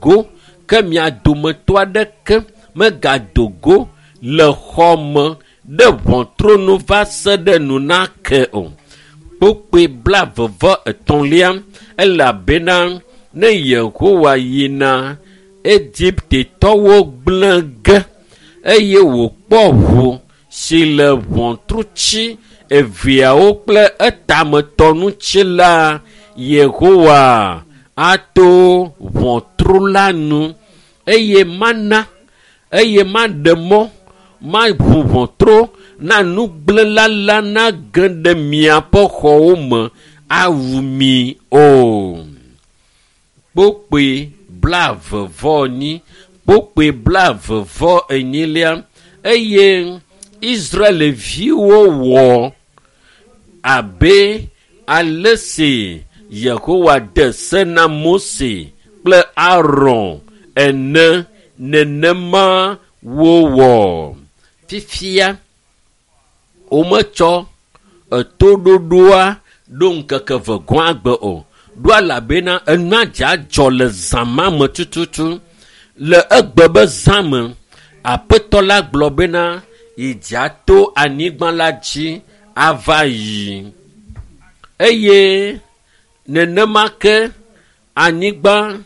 go ke mia dometɔ aɖeke megado go le xɔ me ɖe ʋɔtru nu va se ɖe nu nake o. Kpukpui 33 elabena ne Yehowa yina Egiptetɔwo gblẽ ge eye wòkpɔ ʋu si le ʋɔtruti eveawo kple etametɔ ŋuti la, Yehowa ato ʋɔtru la nu eye mana eye maɖe mɔ maʋu ʋɔtru na nugblẽla la nage ɖe miaƒe xɔwo me awu mi o. Kpukpui 44, kpukpui 44 eye Israelviwo wɔ abe ale si Yehowa de se na Mose kple Aron ene nenema wowɔ. Fifia wometsɔ etoɖoɖoa ɖo ŋkeke eve gɔ̃ agbe o. Ɖo elabena enua dza dzɔ le zã ma me tututu. Le egbe be zã me, Aƒetɔ la gblɔ bena yidza to anyigba la dzi ava yi. Eye nenema ke anyigba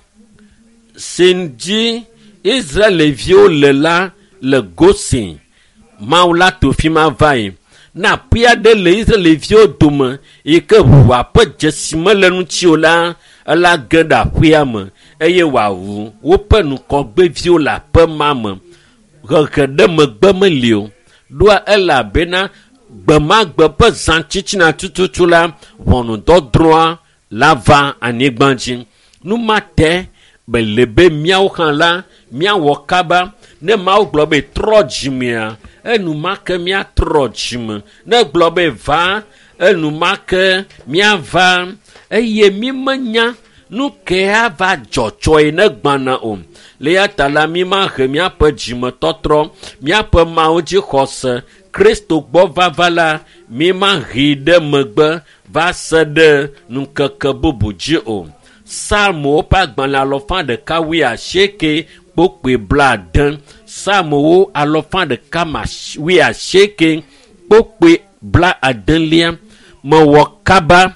si dzi Israelviwo le la le Gosen. Mawu la to fi ma va yi. Ne aƒe aɖe le Israelviwo dome yi ke ʋua ƒe dzesi mele ŋuti o la, ela ge ɖe aƒea me eye wòawu woƒe ŋgɔgbeviwo le aƒe ma me. Hehe ɖe megbe meli o. Ɖoa elabena gbe ma gbe ƒe zã tsitsina tututu la, ʋɔnudɔdrɔ̃a la va anyigba dzi. Nu ma te mele be míawo hã la míawɔ kaba. Ne Mawu gblɔ be trɔ dzimea, enumake míatrɔ dzime. Ne egblɔ be va, enumake míava eye mímenya nu ke ava dzɔ tsɔe ne gbana o. Le eya ta la, mímahe míaƒe dzimetɔtrɔ, míaƒe Mawu dzixɔse, Kristo gbɔ vava la, mímahee ɖe megbe va se ɖe ŋkeke bubu dzi o. Psalmowo ƒe agbalẽ 180 kpukpui 70. Psalmowo 180 kpukpui 70. Mewɔ kaba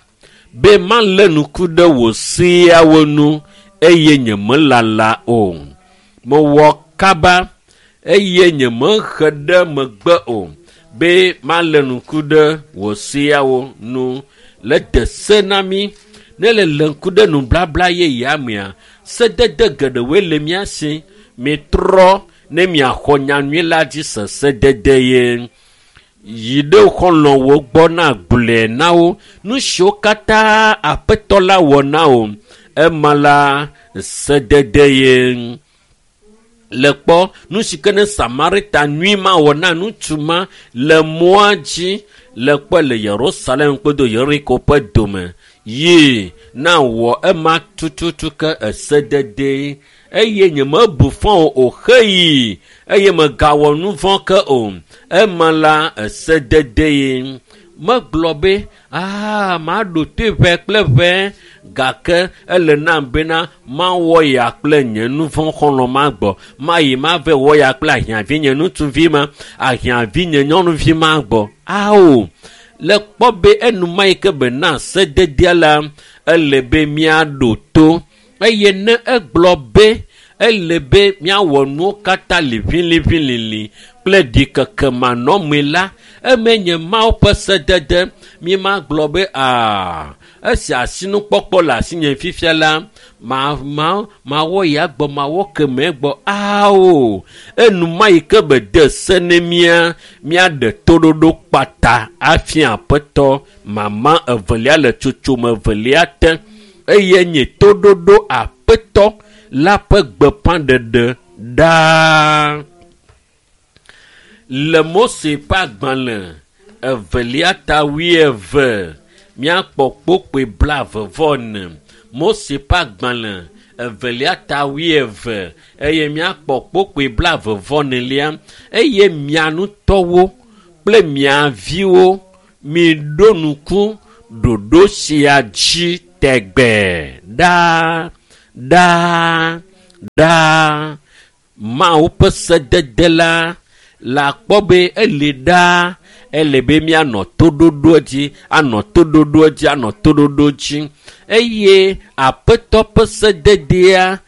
be malé ŋku ɖe wò seawo ŋu eye nyemelala o. Mewɔ kaba eye nyemehe ɖe megbe o be malé ŋku ɖe wò seawo ŋu. Le de se na mí ne le lé ŋku ɖe nublabla yeyea mea, sedede geɖewoe le mía si. Mitrɔ ne miaxɔ nyanyui la dzi se sedede ye. Yi ɖe xɔlɔ̃wo gbɔ na gblɔe na wo nu siwo katã Aƒetɔ la wɔ na wo. Ema la sedede ye. Le kpɔ nu si ke ne Samarita nyui ma wɔ na ŋutsu ma le mɔa dzi le kpɔ le Yerusalem kple Yeriko ƒe dome. Yi na wɔ ema tututu ke esedede eye nyemebu fɔ o xeyi eye megawɔ nu vɔ̃ ke o. Ema la esedede ye. Megblɔ be aa maɖo toe ʋɛ kple ʋɛ gake ele nam bena mawɔ ya kple nye nu vɔ̃ xɔlɔ̃ ma gbɔ. Mayi mave wɔ ya kple ahiãvi nye ŋutsuvi ma, ahiãvi nye nyɔnuvi ma gbɔ. Ao le kpɔ be enuma yi ke bena sededea la ele be míaɖo to eye ne egblɔ be ele be míawɔ nuwo katã liʋiliʋilili kple ɖikeke manɔmee la, eme nye Mawu ƒe sedede. Mímagblɔ be aa esi asinukpɔkpɔ le asinye fifia la, ma ma mawɔ ya gbɔ mawɔ kemɛ gbɔ. Ao enuma yi ke be de se ne mía míaɖe toɖoɖo kpata afia Aƒetɔ mama evelia le tsotsome evelia te eye nye toɖoɖo Aƒetɔ la ƒe gbeƒãɖeɖe ɖaa. Le Mose ƒe agbalẽ evelia ta 20 míakpɔ kpukpui 44. Mose ƒe agbalẽ evelia ta 20 eye míakpɔ kpukpui 44 eye mia ŋutɔwo kple mia viwo miɖo ŋku ɖoɖo sia dzi tegbee ɖaa ɖaa. Ɖaa Mawu ƒe sedede la le akpɔ be eli ɖaa ele be míanɔ toɖoɖo dzi anɔ toɖoɖo dzi anɔ toɖoɖo dzi eye aƒetɔ ƒe sededea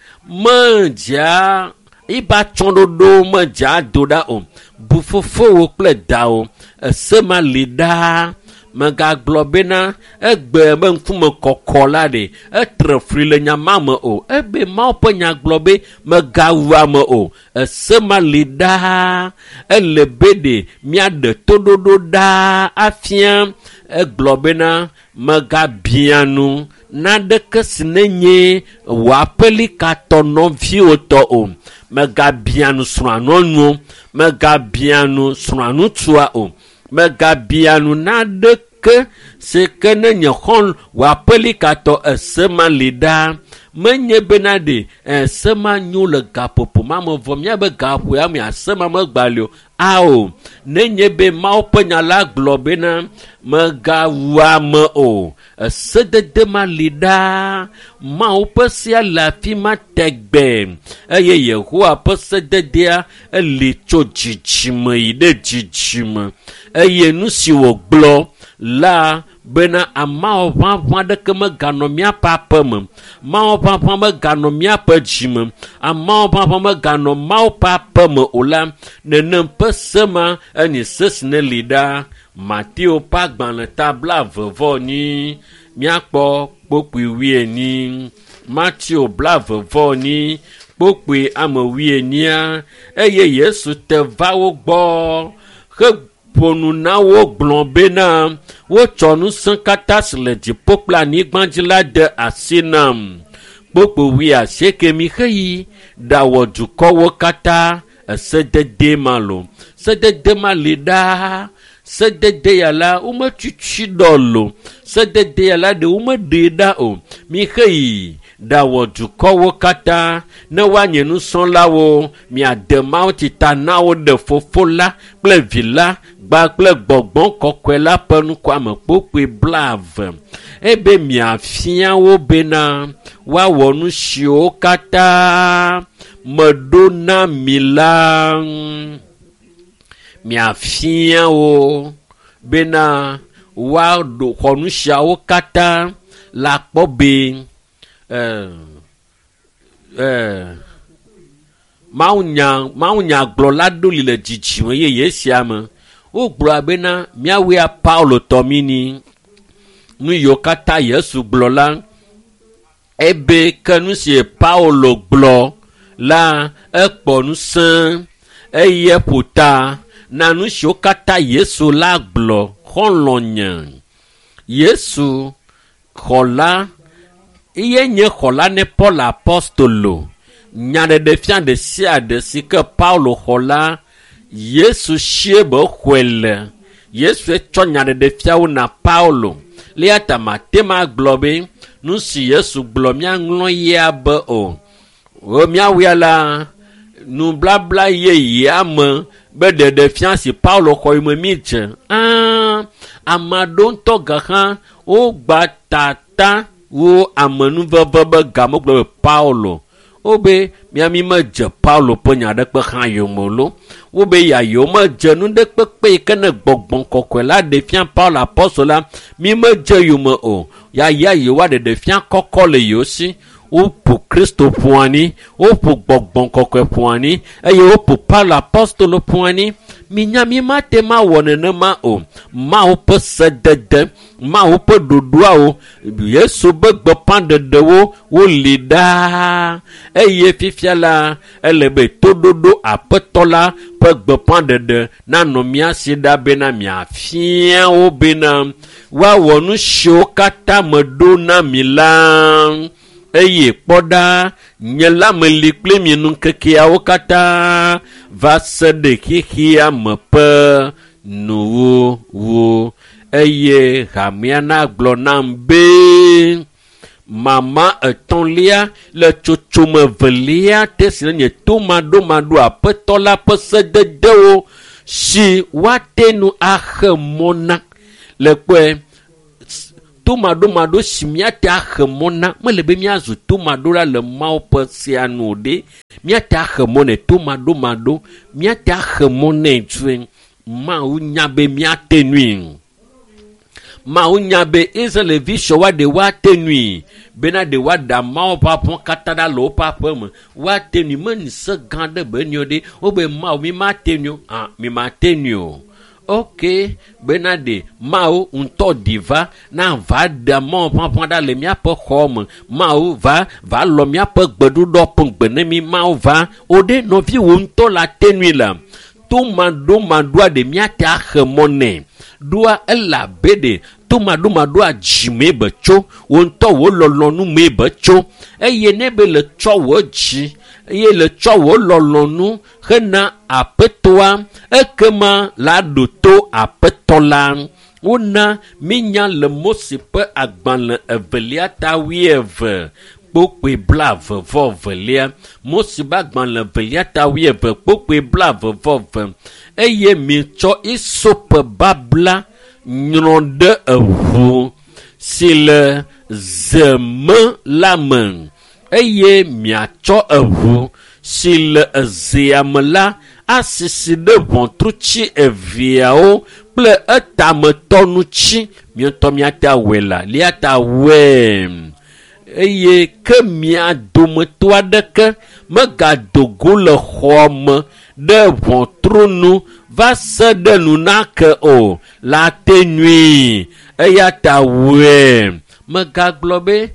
medzea iba tsɔɖoɖo medzea do ɖa o. Bu fofowò kple dawò ese ma li ɖaa. Megagblɔ bena egbe be ŋkume kɔkɔ la ɖe etre fli le nya ma me o. Ebe Mawu ƒe nya gblɔ be megawu ame o. Ese ma li ɖaa. Ele be ɖe míaɖe toɖoɖo ɖaa afia. Egblɔ bena megabia nu naɖeke si nenye wò aƒelikatɔ nɔviwò tɔ o. Megabia nu srɔ̃a nyɔnuwo. Megabia nu srɔ̃a ŋutsua o. Megabia nu naɖeke si ke ne nye xɔl wò aƒelikatɔ ese ma li ɖaa. Menye bena ɖe ese ma nyo le gaƒoƒo ma me vɔ míabe gaƒoƒo ya me ase ma megba li o. Ao, nenye be Mawu ƒe nya la gblɔ bena megawu ame o. Esedede ma li ɖaa. Mawu ƒe sea le afi ma tegbe eye Yehowa ƒe sededea eli tso dzidzime yi ɖe dzidzime eye nu si wògblɔ la bena amawo ʋaʋã aɖeke meganɔ míaƒe aƒe me, mawo ʋaʋã meganɔ míaƒe dzime, amawo ʋaʋã meganɔ Mawu ƒe aƒe me o la, nenem ƒe se ma enye se si ne li ɖaa. Mateo ƒe agbalẽ ta 22 míakpɔ kpokpui 40. Mateo 22 kpokpui ame 40 eye Yesu te va wo gbɔ heƒo nu na wo gblɔ bena wotsɔ ŋusẽ katã si le dziƒo kple anyigba dzi la de asi nam. Kpokpui 80 mi xeyi ɖawɔ dukɔwo katã esedede ma lo. Sedede ma li ɖaa. Sedede ya la wometutu ɖɔ lo. Sedede ya la ɖe womeɖee ɖa o. Mi xeyi ɖawɔ dukɔwo katã ne woanye nusrɔ̃lawo miade mawutsi ta na wo ɖe fofo la kple vi la gba kple gbɔgbɔ kɔkɔe la ƒe ŋkɔame kpokpui 20 ebe miafia wo bena woawɔ nu siwo katã meɖo na mi la. Miafia wo bena woaɖo xɔ nu siawo katã le akpɔ be mawunyagblɔla ɖo li le dzidzime yeye sia me. Wogblɔ bena míawoe Paulo tɔ mí ni. Nu yiwo katã Yesu gblɔ la, ebe ke nu si Paulo gblɔ la ekpɔ ŋusẽ eye ƒo ta na nu siwo katã Yesu la gblɔ xɔlɔ̃nye. Yesu xɔla eye nye xɔla ne Paul apostolo. Nyaɖeɖefia ɖe sia ɖe si ke Paulo xɔ la, Yesu sie be xɔe le. Yesu tsɔ nyaɖeɖefiawo na Paulo. Le eya ta mate ma gblɔ be nu si Yesu gblɔ míaŋlɔ ya be o. Míawoe la nublabla yeyea me be ɖeɖefia si Paulo xɔ yi me mídze. Ame aɖewo ŋutɔ gã hã wogba tata wo amenuveve be game gblɔ be Paulo. Wobe miami medze Paulo ƒe nya aɖeke hã yome lo. Wobe yayewo medze nu ɖe kpekpe yi ke ne gbɔgbɔ kɔkɔe la ɖe fia Paulo apɔstol la, mi medze yome o. Yaya yewoa ɖeɖe fia kɔkɔ le yewo si. Woƒo Kristo ƒo anyi, woƒo gbɔgbɔ kɔkɔe ƒo anyi eye woƒo Paulo apɔstolo ƒo anyi. Minya mi mate ma wɔ nenema o. Mawu ƒe sedede, Mawu ƒe ɖoɖoawo, Yesu be gbeƒãɖeɖewo woli ɖaa eye fifia la ele be toɖoɖo aƒetɔ la ƒe gbeƒãɖeɖe nanɔ mía si ɖa bena miafia wo bena woawɔ nu siwo katã meɖo na mi la. Eye kpɔ ɖa, nye la meli kpli mi ŋkekeawo katã va se ɖe xexea me ƒe nuwuwu. Eye hamea nagblɔ nam be mama etɔ̃lia le tsotsome evelia te si nye tomaɖomaɖo aƒetɔ la ƒe sededewo si woate nu axe mɔ na. Le kpɔe Tomaɖomaɖo si míate axe mɔ na mele be míazu tomaɖola le Mawu ƒe sea nu o ɖe. Míate axe mɔ nɛ tomaɖomaɖo, míate axe mɔ nɛ tsoe. Mawu nya be míate nui. Mawu nya be Israelvi sɔwoa ɖe woate nui bena ɖe woaɖe Mawu ƒe aƒe katã ɖa le woƒe aƒe me. Woate nui meni se gã ɖe be nio ɖe. Wobe Mawu mi mate nui o. Ah, mi mate nui o. Ok, bena ɖe Mawu ŋutɔ ɖi va na va ɖe Mawu ƒe aƒe ɖa le míaƒe xɔ me. Mawu va va lɔ míaƒe gbeɖuɖɔ ƒe gbe ne mi. Mawu va o ɖe nɔviwò ŋutɔ la te nui la. Tomaɖomaɖoa ɖe míate axe mɔ nɛ. Ɖoa elabe ɖe tomaɖomaɖoa dzimee be tso, wò ŋutɔ wò lɔlɔ̃nu mee be tso. Eye ne be le tsɔ wò dzi eye le tsɔ wò lɔlɔ̃nu hena aƒetɔa, ekema la ɖo to aƒetɔ la. Wona mínya le Mose ƒe agbalẽ evelia ta 20 kpokpoe 22. Mose ƒe agbalẽ evelia ta 20 kpokpoe 22. Eye mitsɔ isope babla nyrɔ ɖe eʋu si le ze me la me. Eye miatsɔ eʋu si le ezea me la asisi ɖe ʋɔtrutsi eveawo kple etametɔ ŋuti. Miatɔ miate awɔe la, liata wɔe. Eye ke mia dometɔ aɖeke megado go le xɔa me ɖe ʋɔtru nu va se ɖe nu nake o la te nui. Eya ta wɔe. Megagblɔ be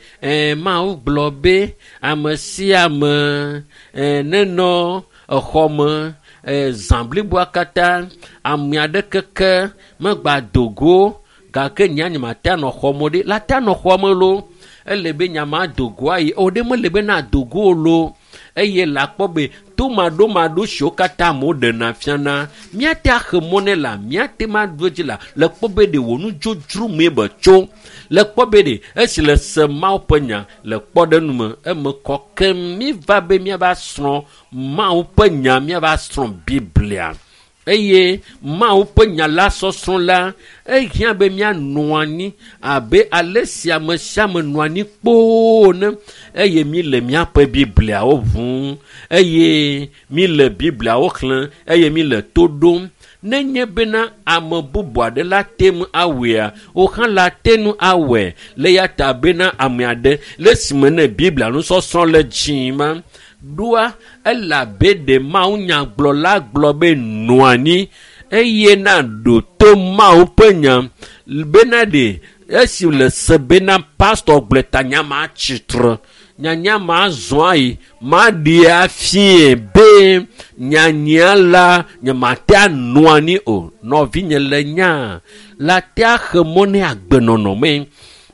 Mawu gblɔ be ame sia ame nenɔ exɔ me zã bliboa katã, ame aɖeke ke megba do go gake nya nye mate anɔ xɔ me ɖe la te anɔ xɔa me loo. Ele be nya ma do go ayi o ɖe mele be na do go loo. Eye la kpɔ be tomaɖomaɖo siwo katã amewo ɖena fiana, míate axe mɔ nɛ la, míate ma ɖo edzi la, le kpɔ be ɖe wò nudzodzro mee be tso. Le kpɔ be ɖe esi le se Mawu ƒe nya le kpɔɖeŋu me, eme kɔ ke míva be míava srɔ̃ Mawu ƒe nya, míava srɔ̃ Biblia. Eye Mawu ƒe nya la sɔsrɔ̃ la, ehiã be míanɔ anyi abe ale si ame sia ame nɔ anyi kpoo ene. Eye míle míaƒe Bibliawo ʋum, eye míle Bibliawo xlẽm, eye míle to ɖom. Nenye bena ame bubu aɖe la te ŋu awɔea, wò hã la te ŋu awɔe. Le ya ta bena ame aɖe le esime ne Biblia nusɔsrɔ̃ le dzi ma, ɖoa elabe ɖe Mawu nyagblɔla gblɔ be nɔ anyi eye na ɖo to Mawu ƒe nya bena ɖe esi le se bena pastor gblɔ ta nya ma tsitre, nyanya ma zɔ ayi, ma ɖe afie be nyanya la nye ma te anɔ anyi o. Nɔvinye le nya la te axe mɔ ne agbenɔnɔ me.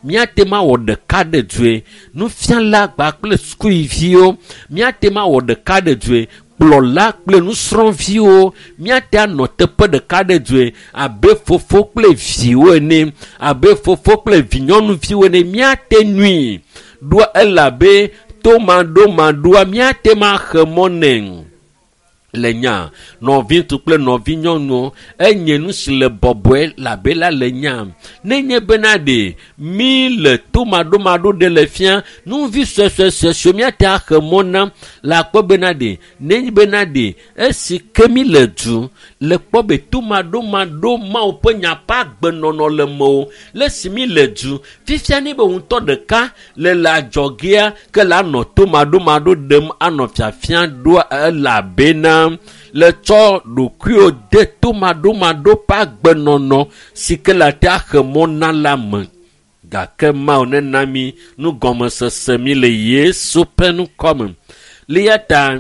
Míate ma wɔ ɖeka ɖe dzoe. Nufiala gba kple sukuviwo, míate ma wɔ ɖeka ɖe dzoe. Kplɔla kple nusrɔ̃viwo, míate anɔ teƒe ɖeka ɖe dzoe abe fofo kple viwo ene, abe fofo kple vinyɔnuviwo ene. Míate nui ɖoa elabe tomaɖomaɖoa míate ma xe mɔ nɛ. Le nya nɔviŋutsu kple nɔvinyɔnuwo, enye nu si le bɔbɔe labe la le nya. Nenye bena ɖe mí le tomaɖomaɖo ɖe le fia, nuvi suesuesuesue míate axe mɔ na le akpɔ bena ɖe, nenye bena ɖe esi ke mí le du le kpɔ be tomaɖomaɖo Mawu ƒe nya ƒe agbenɔnɔ le me o. Le esi mí le du fifia ne be ŋutɔ ɖeka le le adzɔgea ke la nɔ tomaɖomaɖo ɖem anɔ fiafia ɖoa elabena le tsɔ ɖokuiwo de tomaɖomaɖo ƒe agbenɔnɔ si ke le ate axe mɔ na la me. Gake Mawu nena mí nugɔmesese mí le Yesu ƒe ŋkɔ me. Le ya ta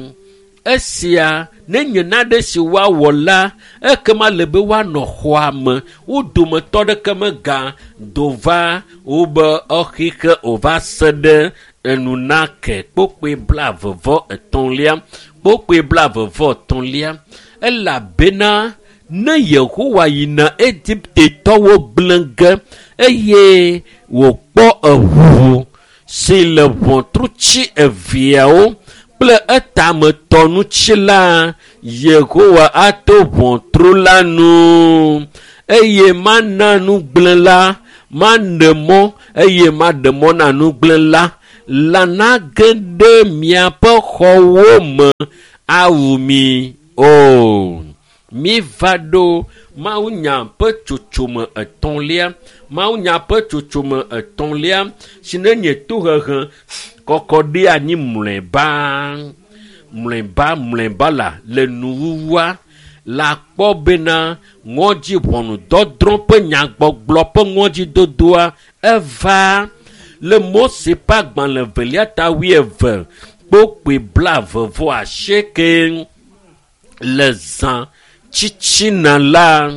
esia nenye nane si woawɔ la, ekema le be woanɔ xɔa me. Wo dometɔ ɖeke mega do va wobe exixe o va se ɖe enu nake. Kpokpoe 23. Kpokpoe 23. Elabena ne Yehowa yina Egiptetɔwo gblẽ ge eye wòkpɔ eʋu si le ʋɔtrutsi eveawo kple etametɔ ŋuti la, Yehowa ato ʋɔtru la nu eye mana nugblẽ la Maɖe mɔ eye maɖe mɔ na nugblẽla la nage ɖe miaƒe xɔwo me awu mi o. Míva ɖo mawunya ƒe tsotsome etɔ̃lia. Mawunya ƒe tsotsome etɔ̃lia si ne nye tohehe kɔkɔ ɖe anyi mlɔeba. Mlɔeba mlɔeba la le nuwuwua la kpɔ bena ŋɔdzi ʋɔnudɔdrɔ̃ ƒe nyagbɔgblɔ ƒe ŋɔdzidodoa eva le Mose ƒe agbalẽ evelia ta wuieve kpokpoe 28 le zã tsitsina la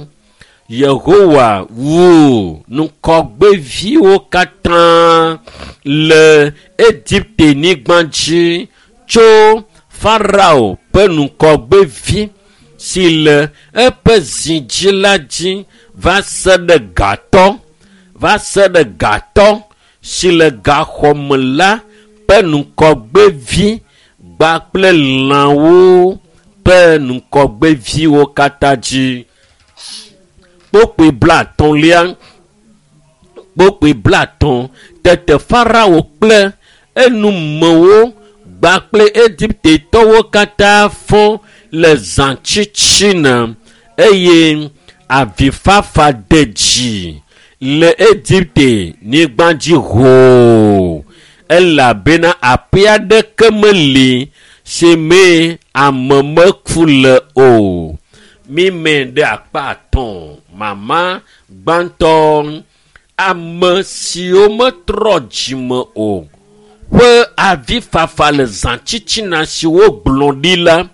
Yehowa wu ŋgɔgbeviwo katã le Egipte nyigba dzi tso Farao ƒe ŋgɔgbevi si le eƒe zi dzi la dzi va se ɖe gatɔ va se ɖe gatɔ si le gaxɔme la ƒe ŋgɔgbevi kpakple lãwo ƒe ŋgɔgbeviwo katã dzi. Kpokpoe 50lia, kpokpoe 50 tete Farao kple enumewo kpakple Egiptetɔwo katã fɔ le zã tsitsina eye avifafa de dzi le Egipte nyigba dzi hoo elabena aƒe aɖeke meli si mee ame meku le o. Mímɛ ɖe akpa atɔ̃ mama gbãtɔ ame siwo metrɔ dzime o ƒe avifafa le zã tsitsina si wogblɔ ɖi la.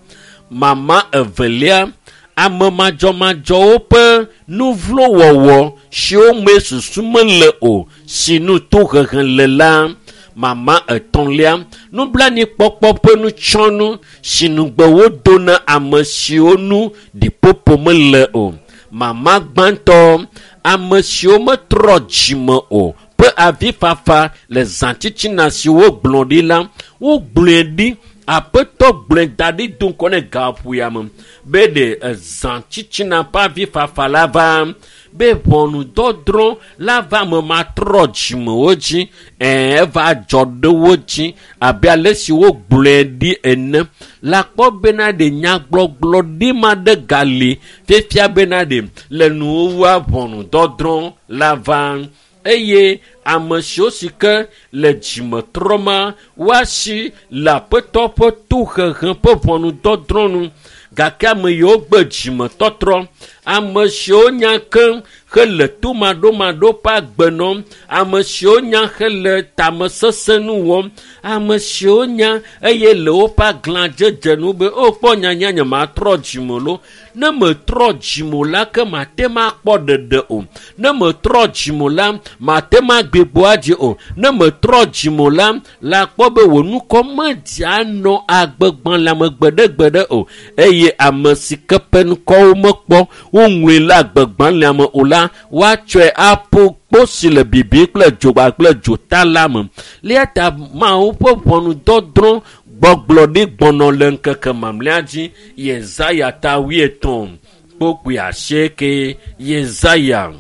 Mama evelia ame madzɔmadzɔwo ƒe nuvlowɔwɔ siwo me susu mele o si nu tohehe le la. Mama etɔ̃lia nublanuikpɔkpɔ ƒe nutsɔnu si nugbe wodo na ame siwo nu ɖiƒoƒo mele o. Mama gbãtɔ ame siwo metrɔ dzime o ƒe avifafa le zã tsitsina si wogblɔ ɖi la wogblɔe ɖi aƒetɔ gblɔe da ɖi do ŋgɔ ne gaƒoya me be ɖe ezã tsitsina ƒe avifafa la va be ʋɔnudɔdrɔ̃ la va ame matrɔ dzimewo dzi eva dzɔ ɖe wo dzi abe ale si wogblɔe ɖi ene la kpɔ bena ɖe nyagbɔgblɔ ɖi ma ɖe gali fifia bena ɖe le nuwuwua ʋɔnudɔdrɔ̃ la va eye ame siwo si ke le dzimetrɔma woasi le aƒetɔ ƒe tohehe ƒe ʋɔnudɔdrɔ̃ nu gake ame yiwo gbe dzimetɔtrɔ ame siwo nya keŋ hele tomaɖomaɖo ƒe agbe nɔm ame siwo nya hele tamesesẽ nu wɔm ame siwo nya eye le woƒe aglãdzedze nu be o kpɔ nyanya nye matrɔ dzime lo ne metrɔ dzime o la ke mate ma akpɔ ɖeɖe o ne metrɔ dzime o la mate ma gbigbɔ adzi o ne metrɔ dzime o la la kpɔ be wò nukɔ medzia nɔ agbegbalẽa me gbeɖegbeɖe o eye ame si ke ƒe ŋkɔwo mekpɔ woŋlɔe le agbegbalẽa me o la woatsɔe aƒo kpo si le bibim kple dzogba kple dzota la me. Eya ta Mawu ƒe ʋɔnudɔdrɔ̃ gbɔgblɔ ɖi gbɔnɔ le ŋkeke mamlɛa dzi Yesaya ta 80 kpokpoe 8 Yesaya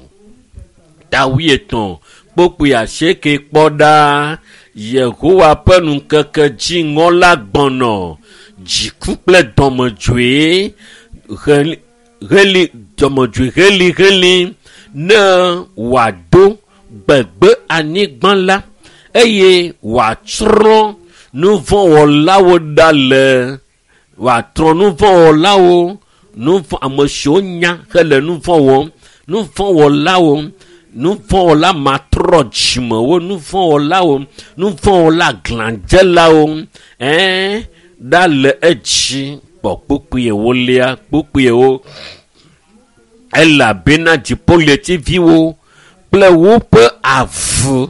ta 80 kpokpoe 8 kpɔ ɖa Yehowa ƒe ŋkeke dziŋɔ la gbɔnɔ dziku kple dɔmedzoe heli dɔmedzoe heliheli ne wòado gbegbe anyigba la eye wòatsrɔ̃ nuvɔ̃wɔlawo ɖa le wòatrɔ nuvɔ̃wɔlawo nuvɔ̃ ame siwo nya hele nuvɔ̃ wɔm nuvɔ̃wɔlawo nuvɔ̃wɔla matrɔ dzimewo nuvɔ̃wɔlawo nuvɔ̃wɔla glãdzelawo ɖa le edzi kpɔ kpukpui ewolia kpukpuiwo elabena dziƒoɣletiviwo kple woƒe avu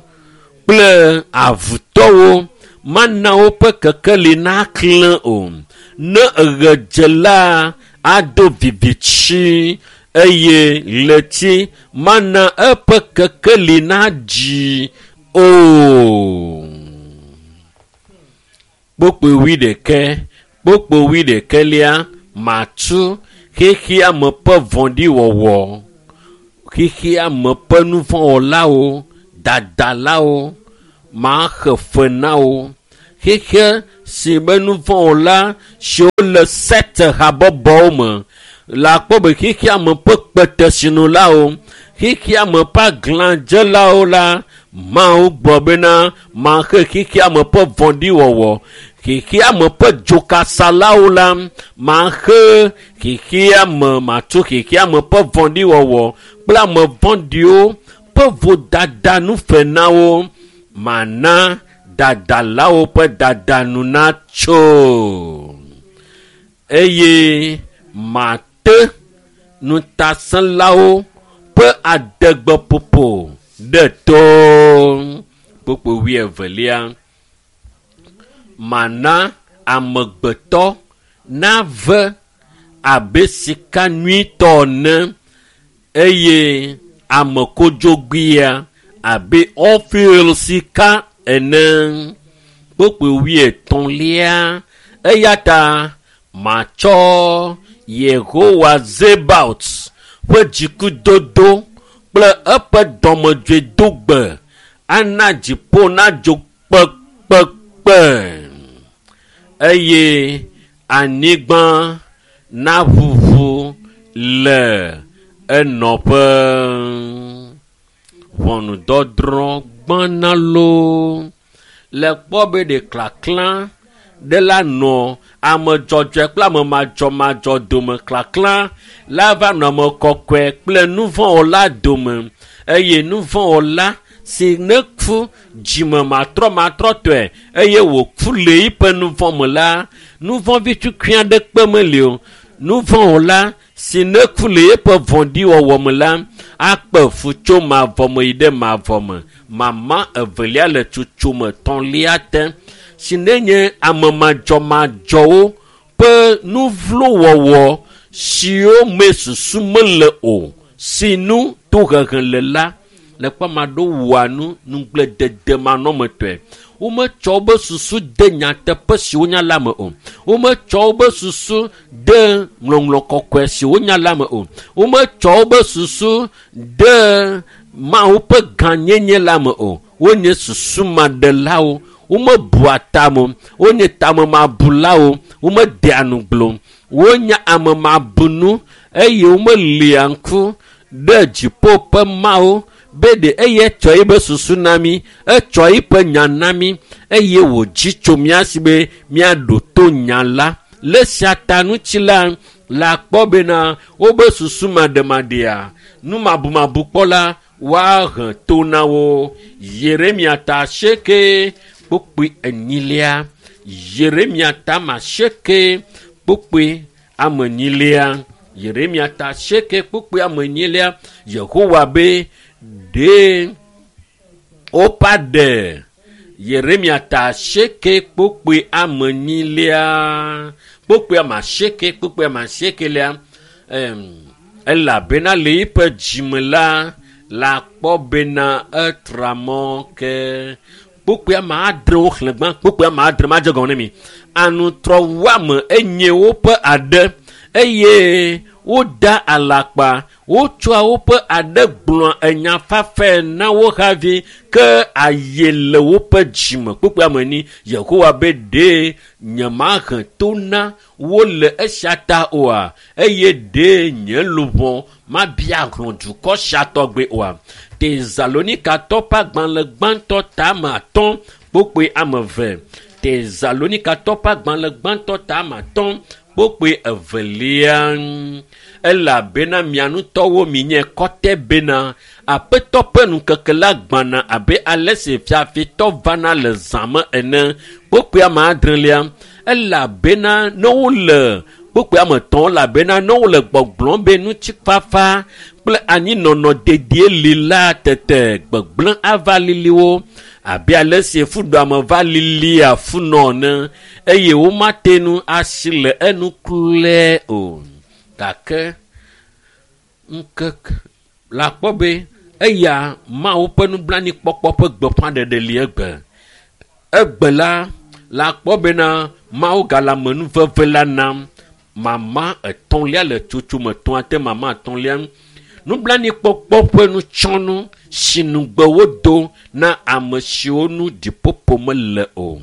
kple avutɔwo mana woƒe kekeli naklẽ o ne ɣe dze la ado vivitsi eye ɣleti mana eƒe kekeli nadzi o. Kpokpoe 21 kpokpoe 21lia matu xexeame ƒe vɔ̃ɖiwɔwɔ Xexea me ƒe nuvɔ̃wɔlawo, dadalawo, maxe fe na wo. Xexe si be nuvɔ̃wɔla siwo le sect habɔbɔwo me le akpɔ be xexea me ƒe kpetesinulawo, xexea me ƒe aglãdzelawo la, Mawu gblɔ bena maxe xexea me ƒe vɔ̃ɖiwɔwɔ, xexea me ƒe dzokasalawo la, maxe xexea me, matu xexea me ƒe vɔ̃ɖiwɔwɔ kple ame vɔ̃ɖiwo ƒe vodada nu fe na wo. Mana dadalawo ƒe dadanu natso eye mate ŋutasẽlawo ƒe adegbeƒoƒo ɖe to. Kpukpui wuievelia. Mana amegbetɔ nave abe sika nyuitɔ ene eye ame kodzogbea abe Ofir sika ene. Kpukpui wuietɔ̃lia. Eya ta matsɔ Yehowa Zebaot ƒe dzikudodo kple eƒe dɔmedzoedogbe ana dziƒo nadzo kpekpekpe eye anyigba naʋuʋu le enɔƒe. Ʋɔnudɔdrɔ̃ gbãna loo. Le kpɔ be ɖe klaklã ɖe la nɔ ame dzɔdzɔe kple ame madzɔmadzɔ dome. Klaklã la va nɔ ame kɔkɔe kple nuvɔ̃wɔla dome eye nuvɔ̃wɔla si ne ku dzime matrɔmatrɔtɔe eye wòku le eƒe nuvɔ̃ me la, nuvɔ̃vi tukui aɖeke meli o. Nuvɔ̃wɔla si ne ku le eƒe vɔ̃ɖiwɔwɔ me la, akpe fu tso mavɔ me yi ɖe mavɔ me. Mama evelia le tsotsome etɔ̃lia te si ne nye ame madzɔmadzɔwo ƒe nuvlowɔwɔ siwo me susu mele o si nu tohehe le la, le kpɔ ame aɖewo wɔa nu nugbledede manɔmetɔe. Wometsɔ wobe susu de nyateƒe si wonya la me o. Wometsɔ wobe susu de ŋlɔŋlɔ kɔkɔe si wonya la me o. Wometsɔ wobe susu de Mawu ƒe gãnyenye la me o. Wonye susumaɖelawo. Womebua tame o. Wonye tamemabulawo. Womedea nuglo. Wonye amemabunu eye womelia ŋku ɖe dziƒo ƒe Mawu be ɖe eye etsɔ eƒe susu na mí, etsɔ eƒe nya na mí eye wòdzi tso mía si be míaɖo to nya la. Le esia ta ŋuti la, le akpɔ bena wobe susu maɖemaɖea, numabumabu la woahe to na wo. Yeremia ta asieke kpukpui enyilia. Yeremia ta asieke kpukpui ame enyilia. Yeremia ta asieke kpukpui ame enyilia. Yehowa be ɖe woƒe aɖe. Yeremia ta asieke kpukpui ame enyilia. Kpukpui ame asieke kpukpui ame asiekelia. Elabena le eƒe dzime la, la kpɔ bena etra mɔ ke. Kpukpui ame adre woxlẽ gbã. Kpukpui ame adre madze gɔme ne mi. Anutrɔwuame enye woƒe aɖe eye woda alakpa. Wotsɔa woƒe aɖe gblɔa enya fafɛ na wo havi ke aye le woƒe dzime. Kpukpui ame enyi. Yehowa be ɖe nyemahe to na wo le esia ta oa eye ɖe nye luʋɔ mabia hlɔ̃ dukɔ sia tɔgbe oa. Tesalonikatɔ ƒe agbalẽ gbãtɔ tame atɔ̃ kpukpui ame eve. Tesalonikatɔ ƒe agbalẽ gbãtɔ tame atɔ̃ kpukpui evelia. Elabena mia ŋutɔwo minye kɔtɛ bena Aƒetɔ ƒe ŋkeke la gbãna abe ale si fiafitɔ vana le zã me ene. Kpukpui ame adrelia. Elabena ne wole kpukpui ame etɔ̃ elabena ne wole gbɔgblɔm be ŋutifafa kple anyinɔnɔ dedie li la tete gbegblẽ ava lili wo abe ale si fuɖuame va lilia funɔ ene eye womate ŋu asi le enu klɔe o. Gake ŋkeke la kpɔ be eya Mawu ƒe nublanuikpɔkpɔ ƒe gbeƒãɖeɖe li egbe. Egbe la la kpɔ bena Mawu gale amenuveve la nam. Mama etɔ̃lia le tsotsome etɔ̃a te mama etɔ̃lia. Nublanuikpɔkpɔ ƒe nutsɔnu si nugbe wodo na ame siwo nu ɖiƒoƒo mele o.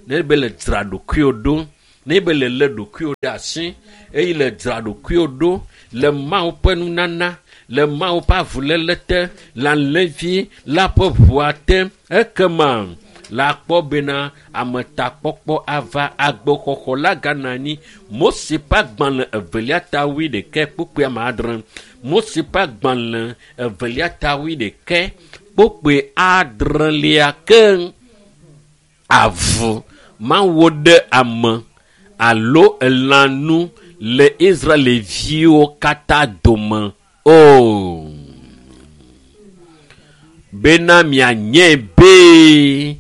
Ne be le dzra ɖokuiwò ɖo, ne be le lé ɖokuiwò ɖe asi eye le dzra ɖokuiwò ɖo le Mawu ƒe nunana, le Mawu ƒe avuléle te, le alẽvi la ƒe ʋua te, ekema la kpɔ bena ametakpɔkpɔ ava agbexɔxɔ la gana anyi. Mose ƒe agbalẽ evelia ta wuiɖekɛ kpukpui ame adre. Mose ƒe agbalẽ evelia ta wuiɖekɛ kpukpui adrelia ke avu mawo ɖe ame alo elãnu le Israelviwo katã dome o. Bena mianye be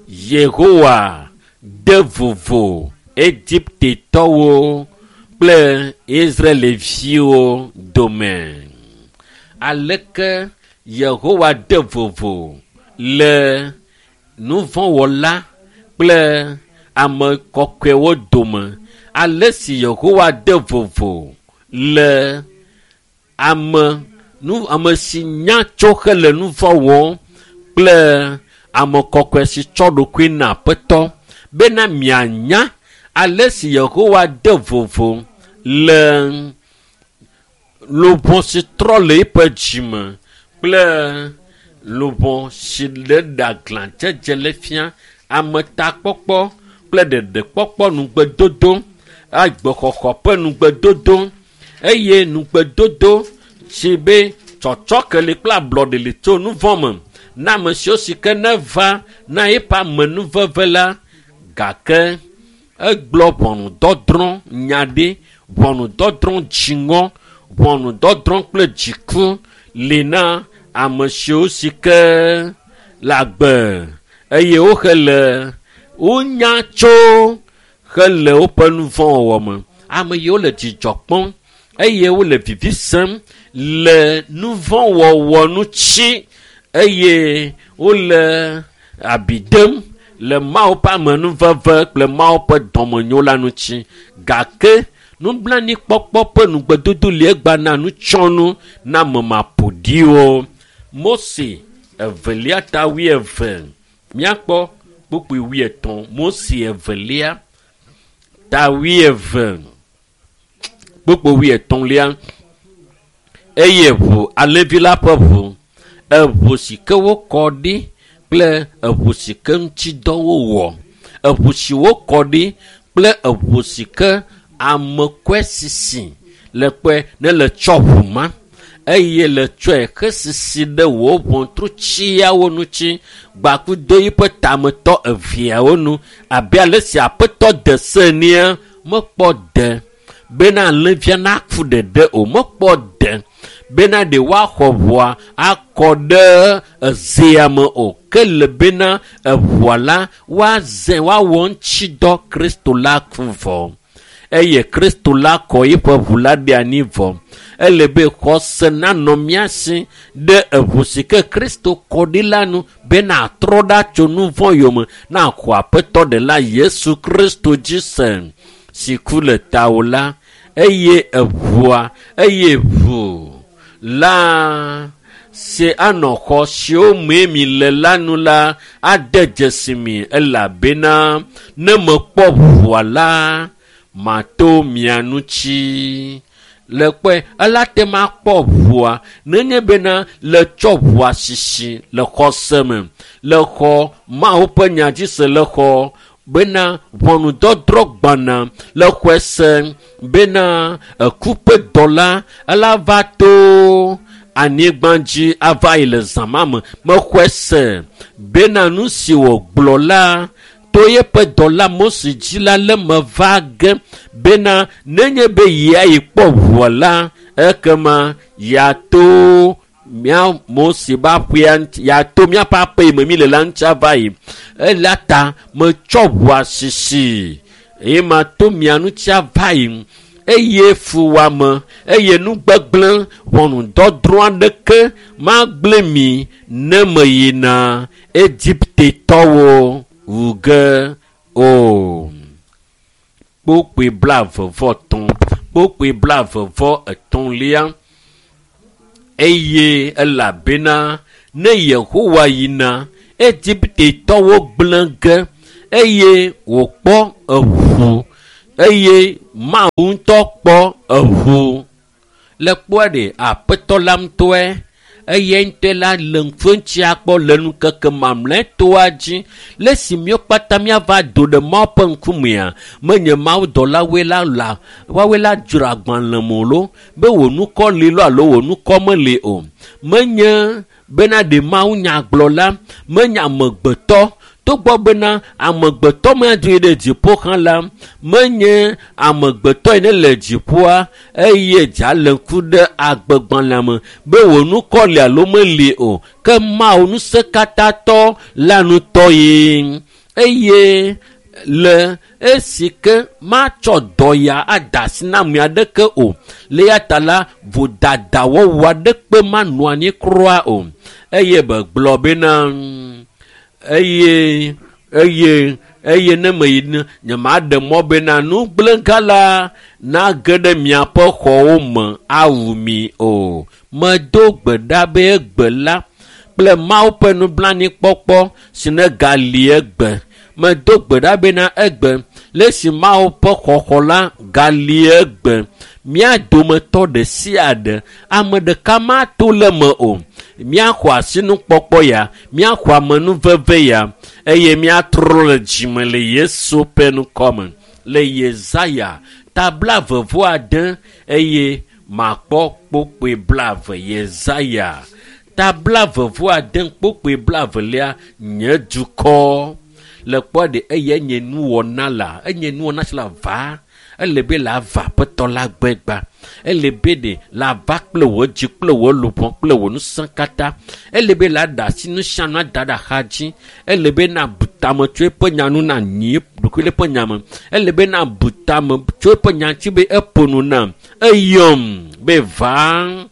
Yehowa de vovo Egiptetɔwo kple Israelviwo dome. Aleke Yehowa de vovo le nuvɔ̃wɔla kple ame kɔkɔewo dome? Ale si Yehowa de vovo le ame nu ame si nya tso hele nu vɔ̃ wɔm kple ame kɔkɔe si tsɔ ɖokui na Aƒetɔ bena mianya ale si Yehowa de vovo le luʋɔ si trɔ le eƒe dzime kple luʋɔ si le ɖaglãdzedze le fia ametakpɔkpɔ kple ɖeɖekpɔkpɔ nugbedodo, agbexɔxɔ ƒe nugbedodo eye nugbedodo si be tsɔtsɔke li kple ablɔɖe li tso nu vɔ̃ me na ame siwo si ke neva na eƒe amenuveve la. Gake egblɔ ʋɔnudɔdrɔ̃ nya ɖi, ʋɔnudɔdrɔ̃ dziŋɔ, ʋɔnudɔdrɔ̃ kple dziku li na ame siwo si ke le agbe eye wohe le wonya tso hele woƒe nu vɔ̃ wɔwɔ me. Ame yiwo le dzidzɔ kpɔm eye wole vivi sem le nu vɔ̃ wɔwɔ ŋuti eye wole abi dem le Mawu ƒe amenuveve kple Mawu ƒe dɔmenyo la ŋuti. Gake nublanuikpɔkpɔ ƒe nugbedodo li egba na nutsɔnu na ame maƒoɖiwo. Mose evelia ta wuieve. Míakpɔ kpukpui wuietɔ̃. Mose evelia ta wuieve kpukpui wuietɔ̃lia. Eye ʋu alẽvi la ƒe ʋu, eʋu si ke wokɔ ɖi kple eʋu si ke ŋuti dɔ wowɔ, eʋu si wokɔ ɖi kple eʋu si ke ame kɔe sisi le kpɔe ne le tsɔ ʋu ma eye le tsɔe hesisi ɖe wò ʋɔtrutsiawo ŋuti gbakudo yiƒe tametɔ eveawo nu abe ale si Aƒetɔ de se enea mekpɔ de bena alẽvia naku ɖeɖe o, mekpɔ de bena ɖe woaxɔ ʋua akɔ ɖe ezea me o, ke le bena eʋua la woaze woawɔ ŋuti dɔ Kristo la ku vɔ. Eye Kristo la kɔ eƒe ʋu la ɖe anyi vɔ. Ele be xɔse nanɔ mía si ɖe eʋu si ke Kristo kɔ ɖi la nu bena atrɔ ɖa tso nu vɔ̃ yome na axɔ Aƒetɔ ɖela Yesu Kristo dzi se si ku le tawò la. Eye eʋua eye ʋu la si anɔ xɔ siwo mee mi le la nu la ade dzesi mi elabena ne mekpɔ ʋua la mato mia ŋuti. Le kpɔe ela te ma kpɔ ʋua nenye bena le tsɔ ʋua sisi le xɔse me, le xɔ Mawu ƒe nya dzi se le xɔ bena ʋɔnudɔdrɔ̃ gbana le xɔe se bena eku ƒe dɔla ela va to anyigba dzi ava yi le zã ma me. Mexɔe se bena nu si wògblɔ la to yeƒe dɔla Mose dzi la le me va ge bena nenye be yia yi kpɔ ʋua la ekema yeato mía Mose ƒe aƒea ŋuti, yeato míaƒe aƒe yi me mi le la ŋuti ava yi. Eya ta metsɔ ʋua sisi eye mato mia ŋuti ava yi. Eye fuwɔame eye nugbegblẽ ʋɔnudɔdrɔ̃ aɖeke magblẽ mi ne meyina Egiptetɔwo wu ge o. Kpukpui blaeve vɔ etɔ̃, kpukpui blaeve vɔ etɔ̃lia. Eye elabena ne Yehowa yina Egiptetɔwo gblẽ ge eye wòkpɔ eʋu eye Mawu ŋutɔ kpɔ eʋu. Le kpɔe ɖe aƒetɔ la ŋutɔe eye ŋutɔe la le ŋkuŋutia kpɔ le nukeke mamlɛtɔa dzi le si míwo kpata míava do ɖe Mawu ƒe ŋkumea menye Mawu dɔlawoe la la woawoe la dzro agbalẽ me lo be wò nukɔ li lo alo wò nukɔ meli o. Menye bena ɖe Mawu nyagblɔla menye amegbetɔ togbɔ bena amegbetɔ madoe ɖe dziƒo hã la menye amegbetɔ yi ne le dziƒoa eye dza le ŋku ɖe agbegbalẽa me be wò nukɔ li alo meli o ke Mawu ŋusẽkatãtɔ la ŋutɔ ye eye le esi ke matsɔ dɔya ada asi na ame aɖeke o le ya ta la vodadawɔwɔ aɖeke manɔ anyi kura o eye begblɔ bena eye eye eye ne meyi ne nyemaɖe mɔ bena nugblẽga la nage ɖe miaƒe xɔwo me awu mi o. Medo gbe ɖa be egbe la kple Mawu ƒe nublanuikpɔkpɔ si ne gali egbe. Medo gbe ɖa bena egbe le esi Mawu ƒe xɔxɔ la gali egbe. Mía dometɔ ɖe sia ɖe ame ɖeka mato le me o. Míaxɔ asinukpɔkpɔ ya, míaxɔ amenuveve ya eye míatrɔ le dzime le Yesu ƒe ŋkɔ me. Le Yesaya ta 46 eye makpɔ kpokpoe 20. Yesaya ta 46 kpokpoe 22 nye dukɔ. Le kpɔ ɖe eye nye nuwɔna la, enye nuwɔna si la va. Ele be la va aƒetɔ la gbegba. Ele be ɖe la va kple wò dzi kple wò luʋɔ kple wò ŋusẽ katã. Ele be la ɖe asi nu sia nu ada ɖe axa dzi. Ele be na bu tame tso eƒe nya nu na nyi ɖokui le eƒe nya me. Ele be na bu tame tso eƒe nya ŋuti be eƒo nu nam. Eyɔm be va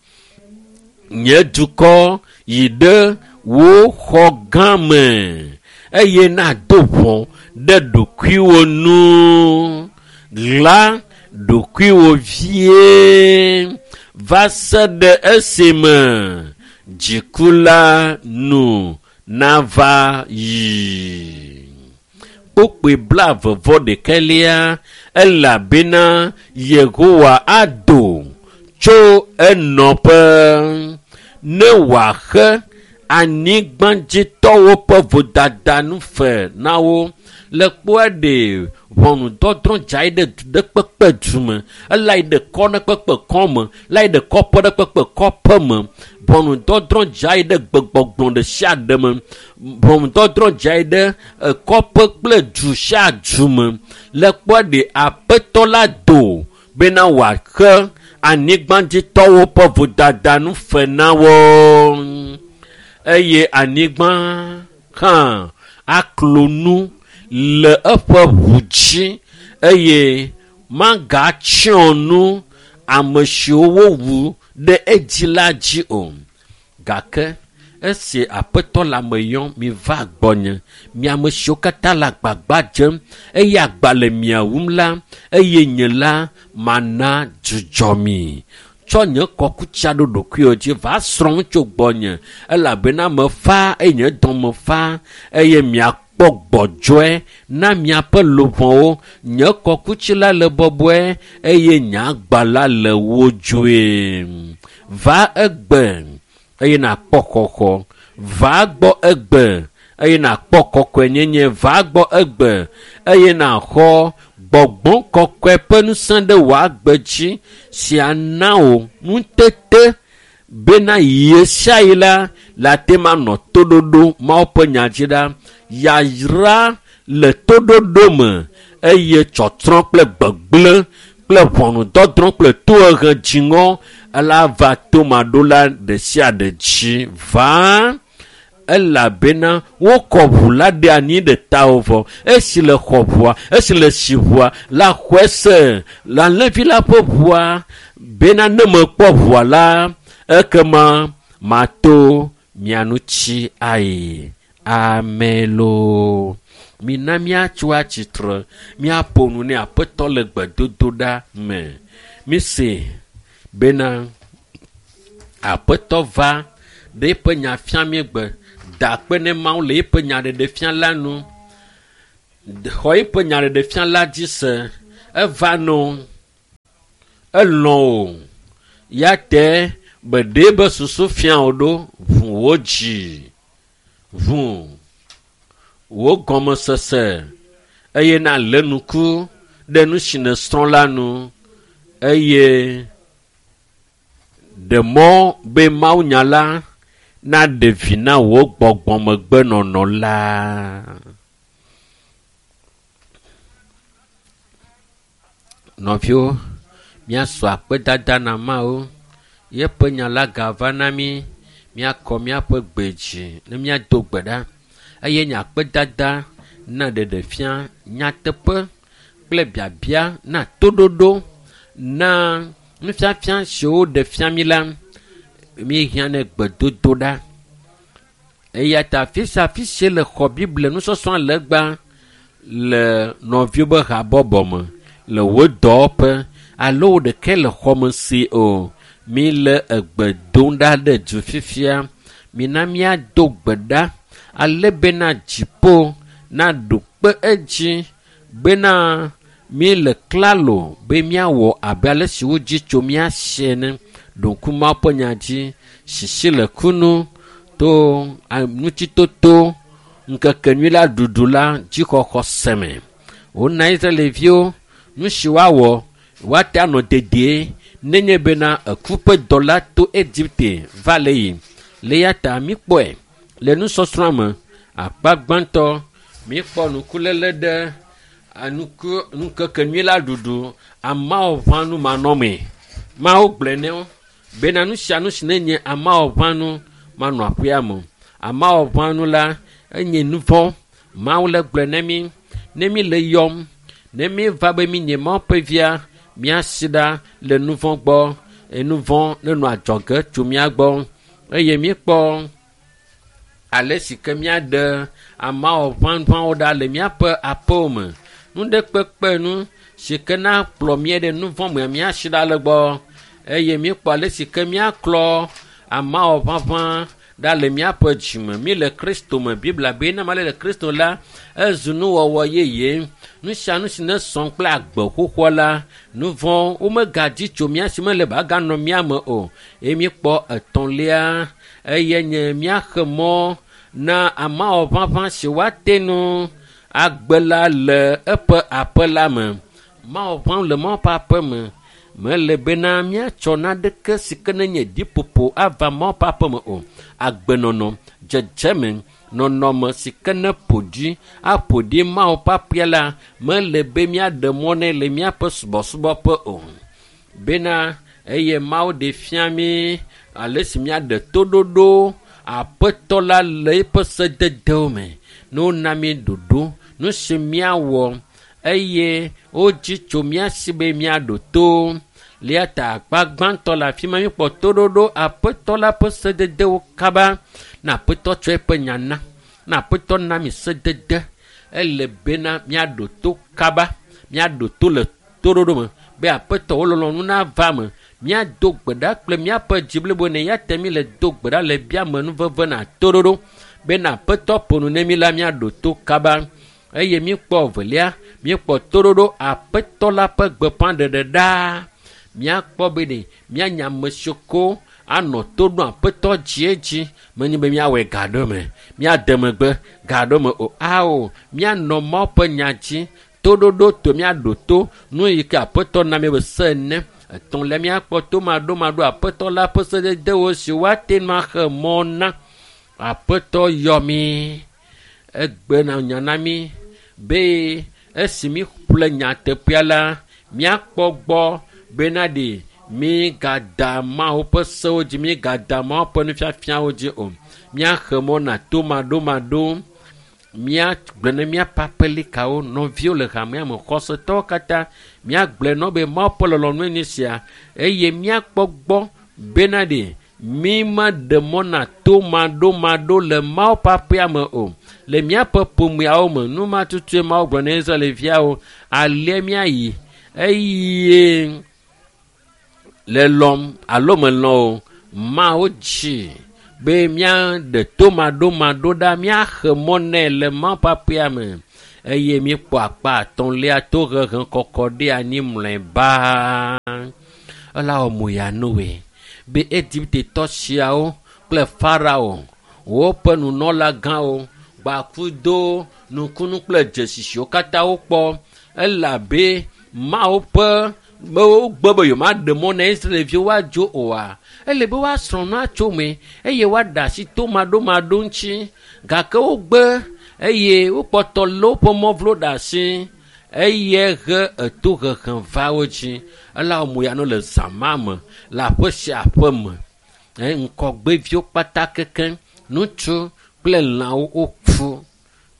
nye dukɔ yi ɖe wò xɔ gã me eye nado ʋɔ ɖe ɖokuiwò nu. La ɖokuiwò vie va se ɖe esime dziku la nu nava yi. Kpokpoe 21 elabena Yehowa ado tso enɔƒe ne wòaxe anyigbadzitɔwo ƒe vodada nu fe na wo. Le kpɔe ɖe ʋɔnudɔdrɔ̃ dza yi ɖe du ɖe kpekpe du me, ela yi ɖe kɔ ɖe kpekpe kɔ me, la yi ɖe kɔƒe ɖe kpekpe kɔƒe me. Ʋɔnudɔdrɔ̃ dza yi ɖe gbegbɔgblɔ ɖe sia ɖe me. Ʋɔnudɔdrɔ̃ dza yi ɖe kɔƒe kple du sia du me. Le kpɔe ɖe aƒetɔ la do bena wòaxe anyigbadzitɔwo ƒe vodada nu fe na wo. Eye anyigba hã aklo nu le eƒe ʋu dzi eye magatsyɔ nu ame siwo wowu ɖe edzi la dzi o. Gake esi aƒetɔ le ame yɔm, miva gbɔnye, mi ame siwo katã le agbagba dzem eye agba le mia wum la, eye nye la mana dzudzɔ mi. Tsɔ nye kɔkutsia ɖo ɖokuiwò dzi va srɔ̃ nu tso gbɔnye elabena mefa eye nye dɔme fa eye miakpɔ gbɔdzɔe na miaƒe luʋɔwo. Nye kɔkutsi la le bɔbɔe eye nye agba la le wodzoe. Va egbe eye nàkpɔ xɔxɔ. Va gbɔ egbe eye nàkpɔ kɔkɔenyenye. Va gbɔ egbe eye nàxɔ gbɔgbɔ kɔkɔe ƒe ŋusẽ ɖe wò agbe dzi si ana wò ŋutete bena ɣe sia ɣi la le ate ŋu anɔ toɖoɖo Mawu ƒe nya dzi ɖa. Yayra le toɖoɖo me eye tsɔtsrɔ̃ kple gbegblẽ kple ʋɔnudɔdrɔ̃ kple tohehe dziŋɔ ela va tomaɖola ɖe sia ɖe dzi va elabena wokɔ ʋu la ɖe anyi ɖe tawò vɔ. Esi le xɔ ʋua, esi le si ʋua la xɔe se le alẽvi la ƒe ʋua bena ne mekpɔ ʋua la ekema mato mia ŋuti ayi. Amen loo. Mina míatso atsitre míaƒo nu ne aƒetɔ le gbedodoɖa me. Mise bena Aƒetɔ va ɖe eƒe nya fia mí gbe. Da akpe ne Mawu le eƒe nyaɖeɖefia la nu. Xɔ eƒe nyaɖeɖefia la dzi se. Eva no. Elɔ̃ o. Ya te be ɖe be susu fia wò ɖo ʋu wò dzi. Ʋu wò gɔmesese eye nalé ŋku ɖe nu si nèsrɔ̃ la nu eye ɖe mɔ be mawunya la naɖe vi na wò gbɔgbɔmegbenɔnɔ la. Nɔviwo, míasɔ akpedada na Mawu. Yeƒe nya la gava na mí. Míakɔ míaƒe gbe dzi ne míado gbe ɖa. Eye nye akpedada na ɖeɖefia nyateƒe kple biabia na toɖoɖo na nufiafia siwo ɖe fia mí la, míehiã ne gbedodo ɖa. Eya ta afi sia afi si le xɔ Biblia nusɔsrɔ̃ le egbea le nɔviwo be habɔbɔ me, le wò dɔwɔƒe alo wò ɖekae le xɔme si o, mi le egbe dom ɖa ɖe du fifia. Mina míado gbe ɖa ale bena dziƒo naɖo kpe edzi bena míele klalo be míawɔ abe ale si wodzi tso mía si ene. Ɖo ŋku Mawu ƒe nya dzi, sisi le kunu to ŋutitoto ŋkekenyui la ɖuɖu la dzixɔxɔ se me. Wona Israelviwo nu si woawɔ woate anɔ dedie nenye bena eku ƒe dɔla to Egipte va le yi. Le eya ta míkpɔe le nusɔsrɔ̃a me akpa gbãtɔ míkpɔ nukuléle ɖe ŋkekenyui la ɖuɖu amawɔʋãnu manɔmee. Mawu gblɔe ne wo bena nu sia nu si nenye amawɔʋãnu manɔ aƒea me. Amawɔʋãnu la enye nu vɔ̃. Mawu le gblɔe ne mí ne mí le yɔm ne mí va be mí nye Mawu ƒe via míasi ɖa le nu vɔ̃ gbɔ. Nu vɔ̃ nenɔ adzɔge tso mía gbɔ eye míkpɔ ale si ke míaɖe amawɔʋãʋãwo ɖa le míaƒe aƒewo me. Nu ɖe kpekpe nu si ke na kplɔ mí ɖe nu vɔ̃ me míasi ɖa le gbɔ eye míkpɔ ale si ke míaklɔ amawɔʋãʋã ɖa le míaƒe dzime. Mí le Kristo me. Biblia be ne ame aɖe le Kristo la, ezu nuwɔwɔ yeye. Nu sia nu si ne sɔ kple agbe xoxoa la, nu vɔ̃ womegadzi tso mía si mele be aganɔ mía me o. Eye míkpɔ etɔ̃lia eye nye míaxe mɔ na amawɔʋãʋã si woate nu agbe la le eƒe aƒe la me. Mawɔʋã le Mawu ƒe aƒe me. Mele bena míatsɔ naneke si ke nenye ɖiƒoƒo ava Mawu ƒe aƒe me o. Agbenɔnɔ, dzedzeme, nɔnɔme si ke ne ƒo ɖi aƒo ɖi Mawu ƒe aƒea la, mele be míaɖe mɔ nɛ le míaƒe subɔsubɔƒe o. Bena eye Mawu ɖe fia mí ale si míaɖe toɖoɖo aƒetɔ la le eƒe sededewo me. Ne wona mí ɖoɖo, nu si míawɔ eye wodzi tso mía si be míaɖo to. Le eya ta akpa gbãtɔ le afi ma míkpɔ toɖoɖo aƒetɔ la ƒe sededewo kaba. Ne aƒetɔ tsɔ eƒe nya na, ne aƒetɔ na mi sedede, ele bena míaɖo to kaba, míaɖo to le toɖoɖo me be aƒetɔ wo lɔlɔ̃nu nava me. Míado gbe ɖa kple míaƒe dzi blibo ne eya ta mí le do gbe ɖa le biame nuveve na toɖoɖo bena aƒetɔ ƒo nu ne mí la míaɖo to kaba. Eye míkpɔ evelia, míekpɔ toɖoɖo aƒetɔ la ƒe gbeƒãɖeɖe ɖaa. Míakpɔ be ɖe míanya ame siwo ko anɔ to ɖom aƒetɔ dziedzi. Menye be míawɔe ga ɖe me, míade megbe ga ɖe me o. Ao, míanɔ Mawu ƒe nya dzi. Toɖoɖo to míaɖo to nu yi ke aƒetɔ na mí be se ene. Etɔ̃lia míakpɔ tomaɖomaɖo aƒetɔ la ƒe sededewo si woate ŋu axe mɔ na. Aƒetɔ yɔ mí. Egbe na nya na mí be esi míƒle nyateƒea la, míakpɔ gbɔ bena ɖe mígada Mawu ƒe sewo dzi, mígada Mawu ƒe nufiafiawo dzi o. Míaxe mɔ na tomaɖomaɖo. Míagblɔ ne míaƒe aƒelikawo, nɔviwo le hamea me, xɔsetɔwo katã, míagblɔe na wo be Mawu ƒe lɔlɔ̃nue nye sia eye míakpɔ gbɔ bena ɖe mí meɖe mɔ na tomaɖomaɖo le Mawu ƒe aƒea me o. Le míaƒe ƒomeawo me, nu ma tutue Mawu gblɔ na Israelviawo, alea míayi eye le lɔm alo melɔ̃ o. Mawu dzi be míaɖe tomaɖomaɖo ɖa, míaxe mɔ nɛ le Mawu ƒe aƒea me. Eye míekpɔ akpa atɔ̃lia tohehe kɔkɔ ɖe anyi mlɔeba. Ela wɔ mo ya Noe be Egiptetɔ siawo kple Farao woƒe nunɔlagãwo gbakudo nukunu kple dzesi siwo katã wokpɔ elabe Mawu ƒe be wogbe be yewomaɖe mɔ na Israelviwo woadzo oa, ele be woasrɔ̃ nu atso me eye woaɖe asi tomaɖomaɖo ŋuti. Gake wogbe eye wokpɔtɔ lé woƒe mɔ vlo ɖe asi eye he etohehe va wo dzi. Ela wɔ mo ya no le zã ma me le aƒe sia aƒe me. Ŋkɔgbeviwo kpata kekeŋ, ŋutsu kple lãwo woku.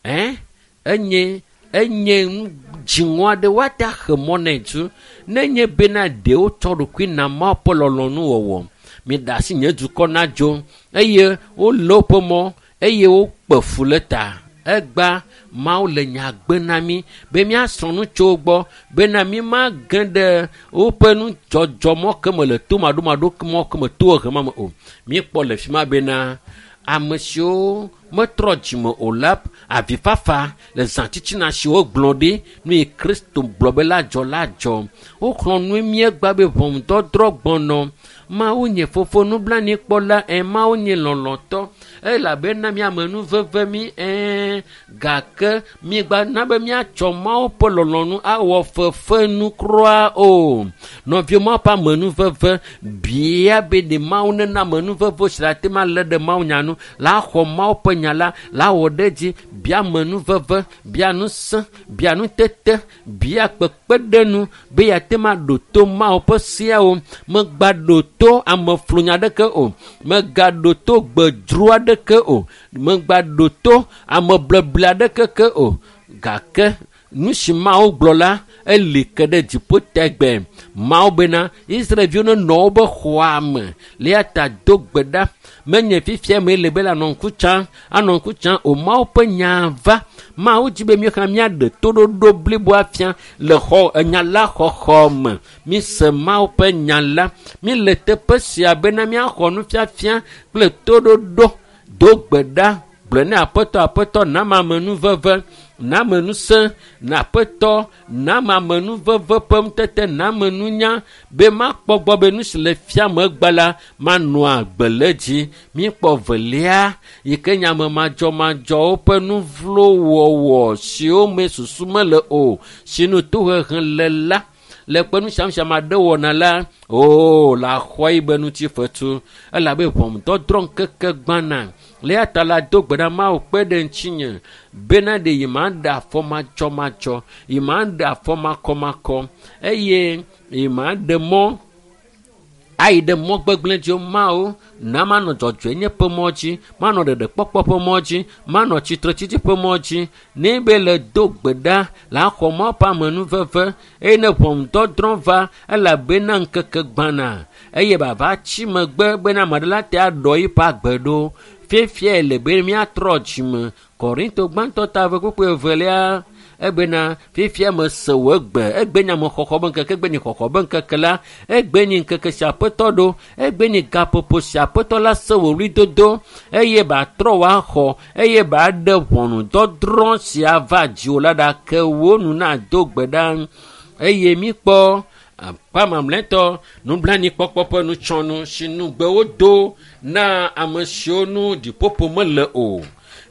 Enye enye nu dziŋɔ aɖe woate axe mɔ nɛ dzu nenye bena ɖewo tsɔ ɖokui na Mawu ƒe lɔlɔ̃nu wɔwɔ. Miɖe asi nye dukɔ nadzo eye wolé woƒe mɔ eye wokpe fu le ta. Egba Mawu le nya gbe na mí be míasrɔ̃ nu tso wo gbɔ bena mímage ɖe woƒe nudzɔdzɔmɔ ke me le tomaɖomaɖo mɔ ke me tohehe ma me o. Míekpɔ le fi ma bena ame siwo metrɔ dzime o la avifafa le zãtitina si wogblɔ ɖi nu yi Kristo gblɔ be la dzɔ la dzɔ. Woxlɔ̃ nu míegba be ʋɔnudɔdrɔ̃ gbɔnɔ. Mawu nye fofo nublanuikpɔla Mawu nye lɔlɔ̃tɔ elabena míame nu veve mí gake mígba na be míatsɔ Mawu ƒe lɔlɔ̃nu awɔ fefenu kura o. Nɔviwo Mawu ƒe amenuveve bia be ɖe Mawu nena amenuveve si le ate ŋu alé ɖe Mawu nya nu la xɔ Mawu ƒe nya la la wɔ ɖe edzi bia amenuveve, bia ŋusẽ, bia nutete, bia kpekpeɖeŋu be yeate ŋu aɖo to Mawu ƒe seawo. Megba ɖo to ameflunya aɖeke o, megaɖo to gbedzro aɖeke o, megba ɖo to amebleble aɖeke ke o. Gake nu si Mawu gblɔ la eli ke ɖe dziƒo tegbe. Mawu bena Israelviwo nenɔ woƒe xɔa me le eya ta do gbe ɖa. Menye fifia me le be le anɔ ŋku tsam, anɔ ŋku tsam o. Mawu ƒe nya va. Mawu dzi be míexlẽ míaɖe toɖoɖo blibo afia le xɔ enya la xɔxɔ me. Míse Mawu ƒe nya la. Míle teƒe sia bena míaxɔ nufiafia kple toɖoɖo. Do gbe ɖa gblɔ ne aƒetɔ aƒetɔ nama amenuveve, nama ŋusẽ, na aƒetɔ nama amenuveve ƒe ŋutete, nama nunya be makpɔ gbɔ be nu si le fia megbe la manɔ agbe le dzi. Míekpɔ velia yi ke nye ame madzɔmadzɔwo ƒe nu vlo wɔwɔ siwo me susu mele o, si nu tohehe le la le kpe nu sia nu si ame aɖe wɔna la, oo la xɔ yi be ŋutifetu elabe ʋɔnudɔdrɔ̃ ŋkeke gbãna. Le eya ta la do gbe ɖa Mawu kpe ɖe ŋutinye bena ɖe yi ma ɖe afɔ madzɔmadzɔ, yi ma ɖe afɔ makɔmakɔ eye yi ma ɖe mɔ ayi ɖe mɔ gbegblẽ dzi o. Mawu na manɔ dzɔdzɔenye ƒe mɔ dzi, manɔ ɖeɖekpɔkpɔ ƒe mɔ dzi, manɔ tsitretsitsi ƒe mɔ dzi. Ne be le do gbe ɖa la xɔ Mawu ƒe amenuveve eye ne ʋɔnudɔdrɔ̃ va elabena ŋkeke gbãna eye bava tsi megbe bena ame aɖe la te aɖɔ eƒe agbe ɖo. Fiafia le be míatrɔ dzime. Korinto gbãtɔ ta eve kpukpui evelia ebena fifia mese wò egbe, egbe nye amexɔxɔ be ŋkeke, egbe nye xɔxɔ be ŋkeke la, egbe nye ŋkeke si aƒetɔ ɖo, egbe nye gaƒoƒo si aƒetɔ la se wò ɣlidodo eye batrɔ wòaxɔ eye baɖe ʋɔnudɔdrɔ̃ sia va dziwò la ɖa ke wò nu nado gbe ɖa. Eye míkpɔ akpa mamlɛtɔ nublanuikpɔkpɔ ƒe nutsɔnu si nugbe wodo na ame siwo nu ɖiƒoƒo mele o.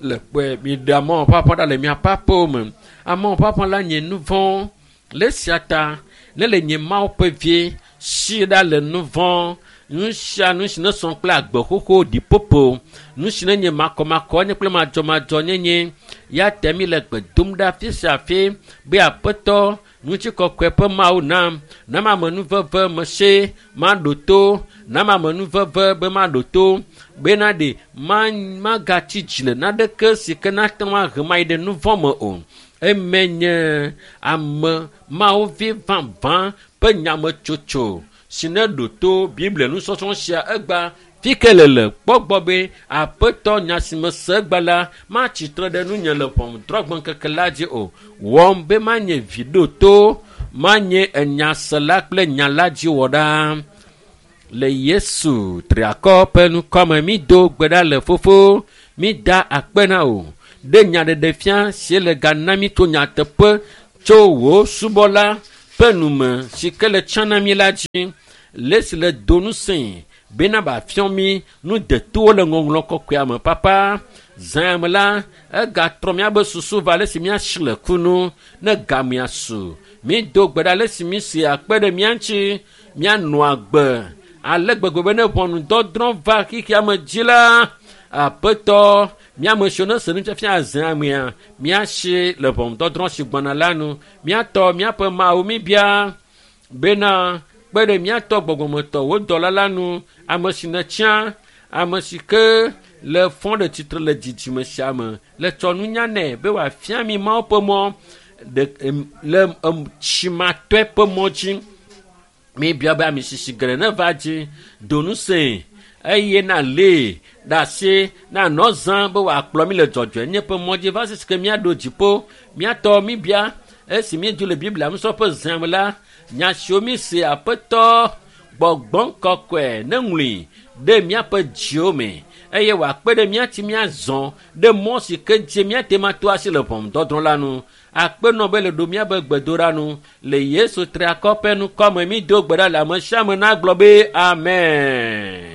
Le kpɔe miɖe amewo ƒe aƒe ɖa le miaƒe aƒewo me. Amewo ƒe aƒe la nye nu vɔ̃. Le esia ta ne le nye Mawu ƒe vie si ɖa le nu vɔ̃, nu sia nu si ne sɔ kple agbe xoxo ɖiƒoƒo, nu si ne nye makɔmakɔ nye kple madzɔmadzɔnyenye ya te mi le gbe dom ɖa afi sia afi be aƒetɔ ŋutikɔkɔe ƒe Mawu nam, nam amenuveve mese maɖo to, nam amenuveve be maɖo to bena ɖe magatsi dzi le naneke si ke nate ŋu ahe mayi ɖe nu vɔ̃ me o. Eme nye ame Mawu vi vavã ƒe nyametsotso si ne ɖo to Biblia nusɔsrɔ̃ sia egba fi ke le le kpɔ gbɔ be aƒetɔ nya si mese egba la matsi tre ɖe nunye le ʋɔnudrɔ̃gbe ŋkeke la dzi o. Wɔm be manye vi ɖo to, manye enyasela kple nya la dzi wɔ ɖa. Le Yesu triakɔ ƒe ŋkɔme mi do gbe ɖa le fofo mi da akpe na wò ɖe nyaɖeɖefia si le ga na mi to nyateƒe tso wò subɔla ƒe nume si ke le tsã na mi la dzi le si le do ŋusẽ bena bàfiɔ mi nu detowo le ŋɔŋlɔ kɔkɔea me papa zã me la egatrɔ míabe susu va ale si míasi le kunu ne gamea su mi do gbe ɖa ale si mi si akpe ɖe mía ŋuti míanɔ agbe ale gbegbe be ne ʋɔnudɔdrɔ̃ va xexea me dzi la aƒetɔ míame siwo ne se nufiafia zã mea míasi le ʋɔnudɔdrɔ̃ si gbɔna la nu míatɔ míaƒe mawu mi bia bena kpe ɖe míatɔ gbɔgbɔmetɔ wò dɔla la nu ame si nètsã ame si ke le fɔ ɖe tsitre le dzidzime sia me le tsɔ nunya nɛ be wòafia mi mawo ƒe mɔ ɖe le tsimatɔe ƒe mɔ dzi mi bia be ame sisi geɖe ne va dzi do ŋusẽ eye na lée ɖe asi na nɔ zã be wòakplɔ mi le dzɔdzɔenye ƒe mɔ dzi va sisi ke míaɖo dziƒo míatɔ mi bia esi míedzo le biblia nusrɔ̃ƒe zã me la nya siwo mi se aƒetɔ gbɔgbɔ kɔkɔe ne ŋlɔe ɖe míaƒe dziwo me eye wòakpe ɖe míati míazɔ ɖe mɔ si ke dzi míate ma to asi le ʋɔnudɔdrɔ̃ la nu akpe nɔ be le ɖo míabe gbedoɖa nu le yesu triakɔ ƒe ŋkɔme mi do gbe ɖa le ame sia ame nagblɔ be amen.